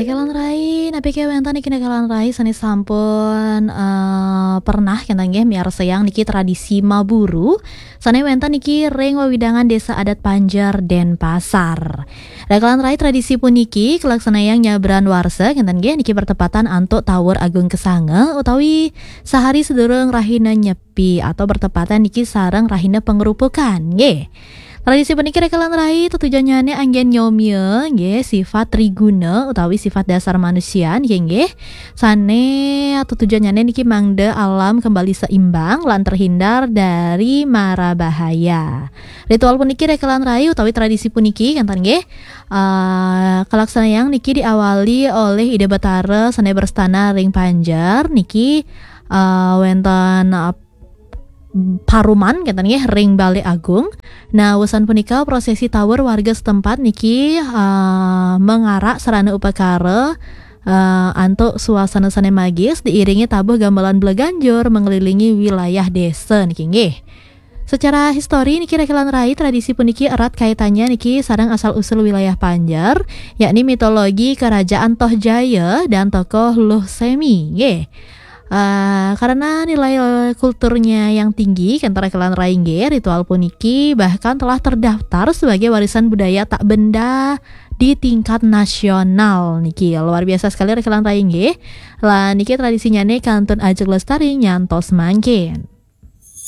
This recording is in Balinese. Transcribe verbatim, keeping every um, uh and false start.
Rekelan rai, napi ké wénten niki rekelan rai sané sampun eh, pernah kénten nggih miarsayang niki tradisi maburu sané wénten niki ring wewidangan Désa Adat Panjer Denpasar. Rekelan rai, tradisi puniki kalaksanayang nyabran warsa kénten nggih niki bertepatan antuk Tawur Agung Kesanga utawi sahari sedurung rahina Nyepi atau bertepatan niki sareng rahina Pengrupukan nggih. Tradisi puniki rekelan rai tetujonnyane anggen nyomia nggih sifat triguna utawi sifat dasar manusia nggih nggih. Sane tetujonnyane niki mangda alam kembali seimbang lan terhindar dari mara bahaya. Ritual puniki rekelan rai utawi tradisi puniki kantan nggih. Uh, kalaksanayang niki diawali oleh Ida Batara sane berstana ring Panjer niki uh, wenten uh, paruman kenten nggih ring Balé Agung. Nah, wusan punika prosesi tawur warga setempat niki uh, mengarak sarana upakara uh, antuk suasana sane magis diiringi tabuh gamelan bleganjur mengelilingi wilayah desa niki nggih. Secara histori niki rekelan rai tradisi puniki erat kaitannya niki sareng asal usul wilayah Panjer, yakni mitologi kerajaan Toh Jaya dan tokoh Luh Semi nggih. Uh, karena nilai kulturnya yang tinggi, kenten rekelan rai nggih, ritual puniki bahkan telah terdaftar sebagai warisan budaya tak benda di tingkat nasional niki. Luar biasa sekali rekelan rai nggih. Lah niki tradisinya nih kantun ajeng lestari nyantos mangkin.